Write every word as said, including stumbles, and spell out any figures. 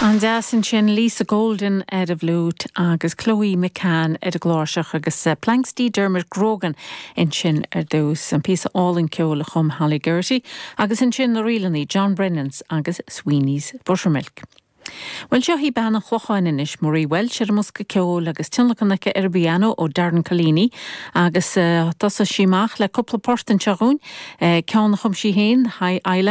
An-deas ansin Lisa Golden ar an bhfliúit agus Chloe McCann ar an gcláirseach agus uh, Planxty Dermot Grogan ansin ar dtús an píosa álainn ceoil a chum Holly Geraghty agus ansin na rílannaí John Brennans agus Sweeney's Buttermilk. Well seo í bean an Chlocháin anois Marie Walsh ar an mbosca ceoil agus tionlacan aici ar an bpianó ó Darren Collini agus uh, thosaigh sí amach le cúpla port anseo dúinn uh, ceann a chum sí féin High Island.